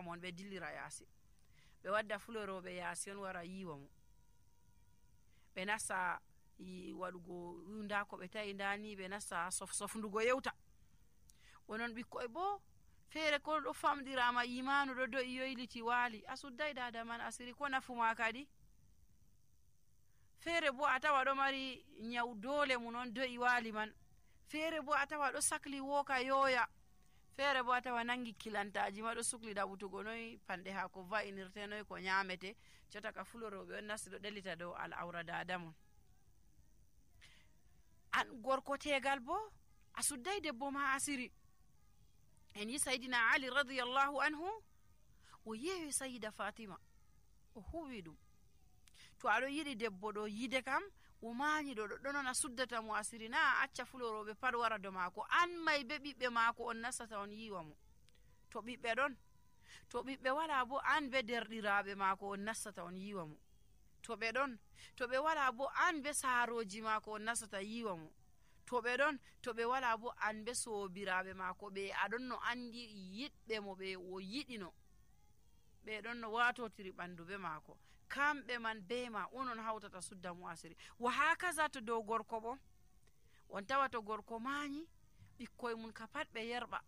mon ɓe dillira yaasi, ɓe wadda fuloroɓe yaasi on wara yiwa mo, ɓe nasta waɗugo nda ko ɓe tawi ndani, ɓe nasta sofndugo yewta. onon ɓikkoy bo feere ko ɗo famɗirama imanu ɗo do'i yoyliti waali, a suddai dada man asiri, ko nafuma kadi. feere bo a tawa ɗo mari nyaw dole mun on do'i waali man, feere bo a tawa ɗo sakli woka yoya, feere bo a tawa nangi kilantaji ma ɗo sukli ɗaɓutugo noy panɗe haako va'inirte, noy ko nyamete, jota ka fuloroɓe on nasti ɗo ɗelita dow al'aura dada mon. an gorko tegal bo a suddai debbo ma asiri. en yi sayidina ali radiyallahu anhu o yewi sayida fatima o huwi ɗum, to aɗo yiɗi debbo ɗo yide kam o mañi ɗo ɗo non a suddata mo asiri, na acca fuloroɓe pat wara do maako, an may be ɓiɓɓe maako on nastata on yiwa mo. to ɓiɓɓe ɗon, to ɓiɓɓe wala bo an be derɗiraɓe maako on nastata on yiwa mo. to ɓe ɗon, to ɓe wala bo an be saaroji maako on nastata yiwa mo. to ɓe ɗon, to ɓe wala bo an be soobiraɓe maako ɓe aɗon no andi yiɗɓe mo ɓe o yiɗino, ɓe ɗon no watotiri ɓandu be maako, kamɓe man be ma onon hawtata sudda mo asiri. wa hakaza to dow gorko bo, on tawa to gorko mañi ɓikkoy mun ka pat ɓe yerɓa,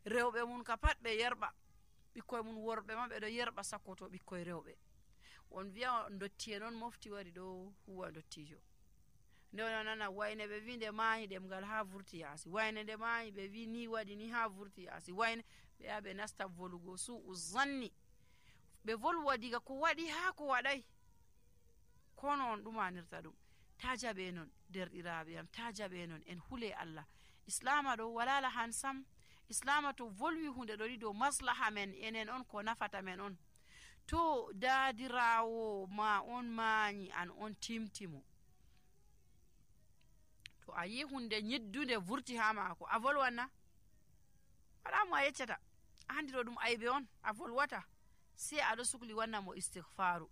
rewɓe mun ka pat ɓe yerɓa, ɓikkoy mun worɓe ma ɓe ɗo yerɓa sakkoto ɓikkoy rewɓe. on wiya dotti en on mofti wari ɗo huwa dottijo, nde on nana wayne ɓe wi nde mañi ɗemgal ha vurti yaasi, wayne nde mañi ɓe wi ni waɗi ni ha vurti yaasi, wayne ɓe ya ɓe nasta volugo su'u zanni, ɓe volwa diga ko waɗi ha ko waɗai, kono on ɗumanirta ɗum. ta jaɓe non derɗiraɓe yam, ta jaɓe non, en hule Allah. islama ɗo wala lahan sam, islama to volwi hunde ɗo ɗi dow maslaha men enen on ko nafata men on. to dadirawo ma on mañi an on timtimo, to a yi hunde ñiddunde vurti ha maako, a volwanna? wala mo a yeccata, a andi ɗo ɗum aybe on, a volwata, sai aɗo sukli wanna mo istighfaru.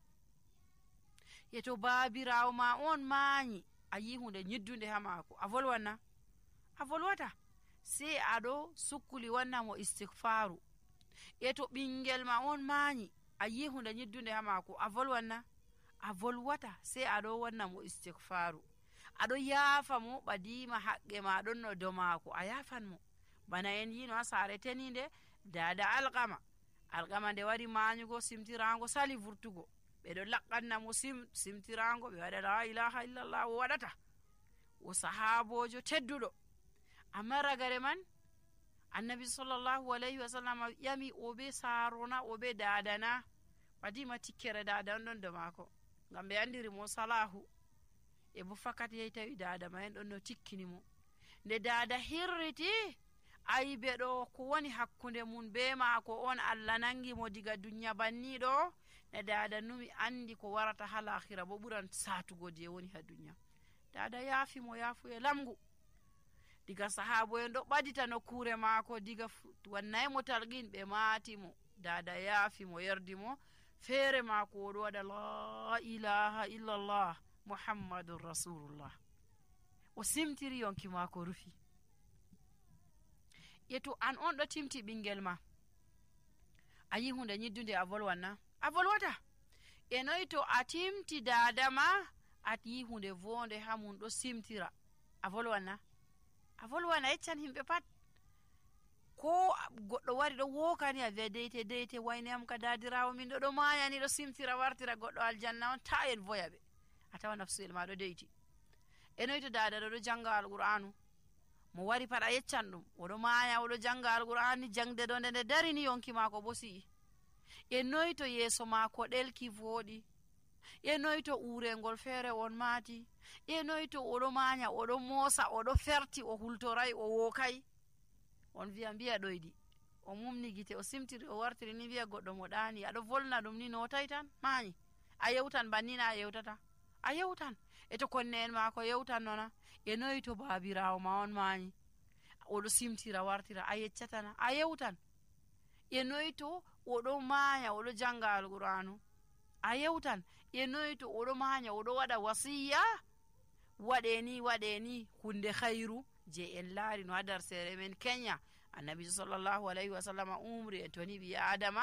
yeto babirawo ma on mañi a yi hunde ñiddunde ha maako, a volwanna? a volwata, sai aɗo sukli wanna mo istighfaru. yeto ɓingel ma on mañi a yi hunde ñiddunde ha maako, a volwanna? a volwata, sai aɗo wanna mo istighfaru, aɗo yaafa mo ɓadima haqqe ma ɗon no do maako, a yafan mo. bana en yino ha saare teninde dada alqama nde wari mañugo simtirango sali vurtugo, ɓeɗo laqqanna mo simtirango, ɓe waɗa la ilaha illallah, o waɗata, o sahabojo tedduɗo. amma ragare man annabi sallallahu alayhi wa sallam ƴami o be sarona, o be dadana, ɓadima tikkere dada on ɗon do maako, ngam ɓe andiri mo salahu. e bo fakat yehi tawi dada ma en ɗon no tikkini mo. nde dada hirriti ayibe ɗo ko woni hakkunde mun be maako on Allah nangi mo diga dunya banniɗo, ne dada numi andi ko warata ha lahira bo ɓuran satugo je woni ha dunya. dada yaafi mo yaafu e lamgu, diga sahabo en ɗo ɓadita nokkure maako, diga wannay mo talqin ɓe maati mo, dada yaafi mo yerdi mo, feere maako oɗo waɗa la ilaha illallah muhammadun rasulullah, o simtiri yonki maako rufi. yeto an on ɗo timti ɓingel ma, a yi hunde ñiddunde, a volwanna? a volwata. e noyi to a timti dada ma a yi hunde vonde ha mum ɗo simtira, a volwanna? a volwana, yeccan himɓe pat. ko goɗɗo wari ɗo wokani a wiya deyte deyte, wayne am ka dadirawo min ɗo mayani ɗo simtira wartira goɗɗo aljanna on, ta en voya ɓe, a tawa nafsuyel ma ɗo deyti. e noyi to dada ɗo janga alqur'anu, mo wari pat a yeccan ɗum, oɗo maya oɗo janga alqur'ani, jangde ɗo nde darini yonki maako bo si'i. e noyi to yeeso maako ɗelki voɗi, e noyi to urengol feere on maati, e noyi to oɗo manya, oɗo moosa, oɗo ferti, o hultoray, o wokai, on wiya mbiya ɗoyɗi, o mumni gite, o simtiri, o wartiri ni wiya goɗɗo mo ɗani, aɗo volna ɗum ni notay tan mañi, a yewtan bannina a yewtata, a yewtan. e to konne en maako yewtan nona. e noyi to babirawo ma on mañi, oɗo simtira wartira, a yeccatana, a yewtan. e noyi to oɗo maya oɗo janga alqur'anu, a yewtan. e noyi to oɗo manya oɗo waɗa wasiya, waɗeni hunde khairu je en laari no ha dar sere men Kenya, annabi sallallahu alayhi wa sallam umri en toni ɓi adama